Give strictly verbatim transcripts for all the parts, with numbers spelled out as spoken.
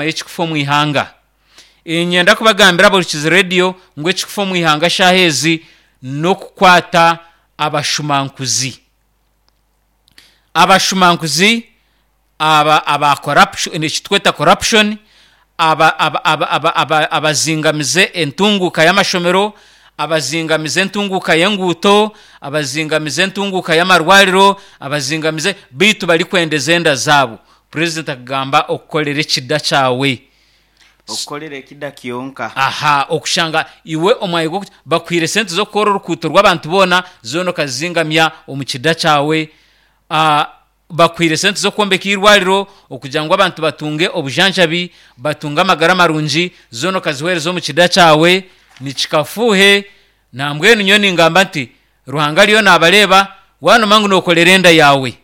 Y'ekikufa omu ihanga. Niinyenda kubagambira abahurikiize reediyo ngu ekikufa omu ihanga shaaha ezi n'okukwata abashumankuzi. Abashumankuzi aba aba corruption ekitweta corruption aba aba aba aba aba abazingamize entunguuka y'amashomero, abazingamize entunguuka y'enguuto, abazingamize entunguuka y'amarwariro, abazingamize beitu barikwendeza enda zaabo. Purezidenti akagamba okukorera ekida kyawe. Okukorera ekida kyonka. Aha okushanga iwe omwanya gw'oku bakuhaire sente z'okukora orukuuto rw'abantu boona zoona okazizingamya omu kida kyawe. Ah, bakuhaire sente z'okwombeka eirwariro okugira ngu abantu batunge obujanjabi, batunge amagara marungi, zoona okaziheereza omu kida kyawe, nikikafuuhe. Nambwenu nyowe ningamba nti Ruhanga ariyo naabareeba, waanoma ngu nookorera enda yaawe,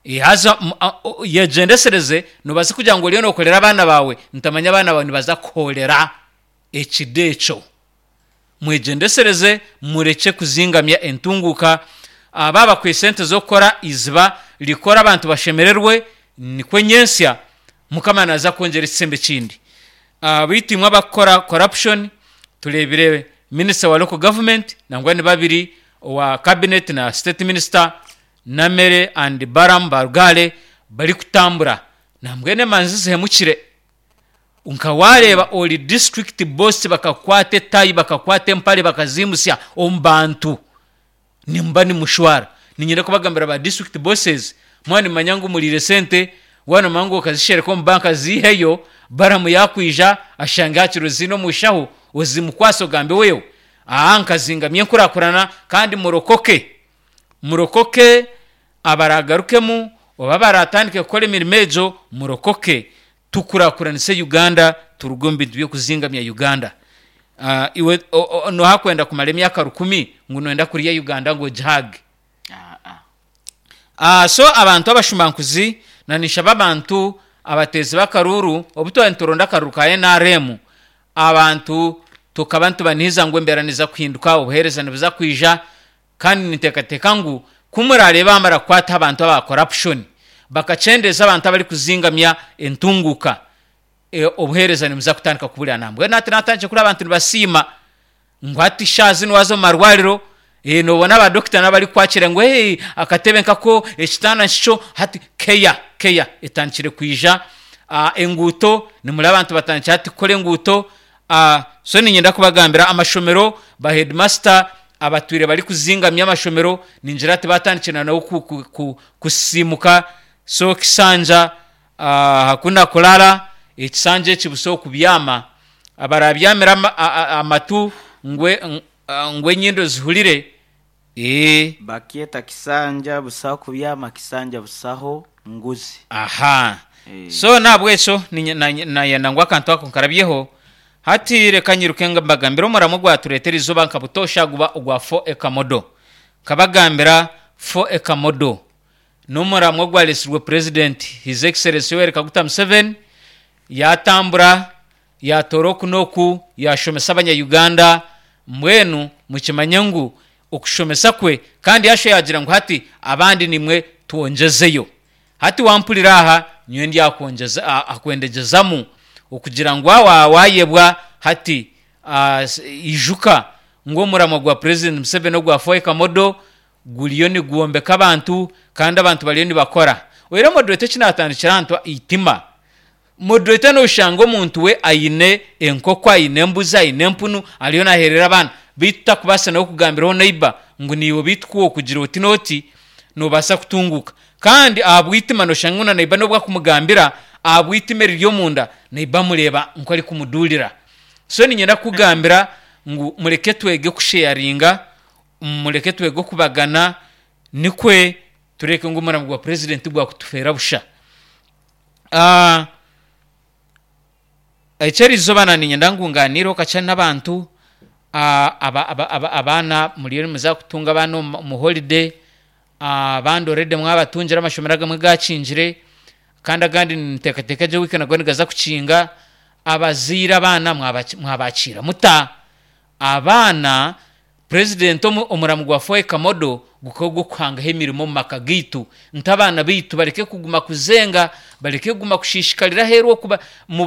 eh, haza mu- a- o- yegyendesereze noobaasa kugira ngu oriyo nookorera abaana baawe, ntamanya abaana baawe nibaza kuhoorera ekida ekyo. Mwegyendesereze murekye kuzingamya entunguuka. Ah, baaba bakuhaire sente z'okukora eiziba, rikore abantu bashemererwe, nikwo nyentsya Mukama naaza kwongyera ekisembo ekindi. Ah, beitu imwe abakukora corruption, tureebire minisita wa local government nangwa ni babiri owa cabinet na state minister Namere and Balaam Barugaale barikutambura nambwenu emanzi zihemukire. Nka waareeba ori district boss bakakukwata etayi bakakukwata empare bakaziimutsya omu bantu nimuba nimushwara. Niinyenda kubagambira ba district bosses mwaba nimumanya ngu muriire sente, waaba noomanya ngu okazishereka omu banka ziiheyo, Balaam yaakwija ashange hakiri oziine omu nshaho ozimukwase ogambe wewe aha nkazingamya enkurakurana kandi murokoke. Murokoke abaraagarukemu oba abaraatandike kukora emirimo egyo murokoke tukurakuranise Uganda turuge omu bintu by'okuzingamya Uganda. Ah, iwe o- o- nooha kwenda kumara emyaka rukumi ngu nooyenda kurya Uganda ngu ogihaage? Ah, ah. Ah, so abantu abashumankuzi na ninshaba abantu abateezi b'akaruuru obu twaba nituronda akaruuru ka N R M abantu tukaba nitubanihiza ngu embeera niza kuhinduka, obuheereza nibuza kwija, kandi ninteekateeka ngu ku murareebe bamara kukwata abantu aba corruption bakakyendeeza abantu abarikuzingamya entunguuka, e, obuheereza nibuza kutandika kuburira. Nambwenu hati naatandikire kureeba abantu nibasiima ngu hati shaaha zinu waaza omu marwariro eh, noobona abadokita n'abarikukwakira ngu hey, akatebe nkako, ekitanda nkikyo, hati care care etandikire kwija. Ah, enguuto nimureba abantu batandikire hati kukora enguuto. Ah, so niinyenda kubagambira amashomero ba headmaster abatwire barikuzingamya amashomero ningira hati batandikire na nabo ku, ku, ku, kusiimuka. So kisanja ah, hakuna kulala, ekisanja eki busaho kubyama, abarabyamire ama, a- a- amatu ngu ngu enyindo zihurire ee. Bakyeta kisanja busaho kubyama, kisanja busaho nguzi. Aha. Eh. So nahabwekyo ninye- nanye- nayenda ngu akantu ako nkarabyeho. Hati reka nyiruke nga mbagambire omuramo ogwatureetera eizooba nka butoosha guba ogwa four acre model. Nkabagambira four acre model n'omuramo ogwareetsirwe President His Excellency Yoweri Kaguta Museveni yaatambura yaatoora oku n'oku yaashomesa abanya-Uganda mbwenu mukimanye ngu okushomesa kwe kandi yaashuba yaagira ngu hati abandi nimwe twongyezeyo. Hati wampurira aha nyowe ndyakwongyeza a- akwendegyezamu okugira ngu waaba waayebwa hati ah, s- ijuka ngu omuramo gwa President Museveni ogwa four acre model guriyo nigwombeka abantu kandi abantu bariyo nibakora. Oyihireho moderator eki naatandikira aha nti eitima. Moderator nooshanga omuntu we aine enkoko, aine embuzi, aine empunu ariyo naaheerera abaana beitu takubaasa nawe kugambiraho neighbour ngu naiwe beitu ku okugira oti n'oti noobaasa kutunguuka. Kandi ahabw'eitima nooshanga ngu na neighbour n'obu akumugambira ahabw'eitima eriri omunda neighbour amureeba nk'orikumuduurira. So niinyenda kukugambira ngu mureke twege kusheyaringa, mureke twege okubagana nikwe tureke ngu omuramo gwa purezidenti gwakutufeera busha. Ah, eky'erizooba na niinyenda ngu ngaaniireho kakye n'abantu ah, aba, aba, aba, abaana muriyo nimuza kutunga abaana omu omu holiday, ah, abandi already mwabatungire amashomero agamwe gaakingire kandi agandi ninteekateeka gye wiiki nago nigaza kukinga. Abazaire abaana mwabaki mwabakiira muta? Abaana Purezidenti omu omuramu gwa four acre model gukaba ogw'okuhangaho emirimo omu maka gaitu nti abaana baitu bareke kuguma kuzenga Bareke kuguma kushishikarira aheeru okuba mu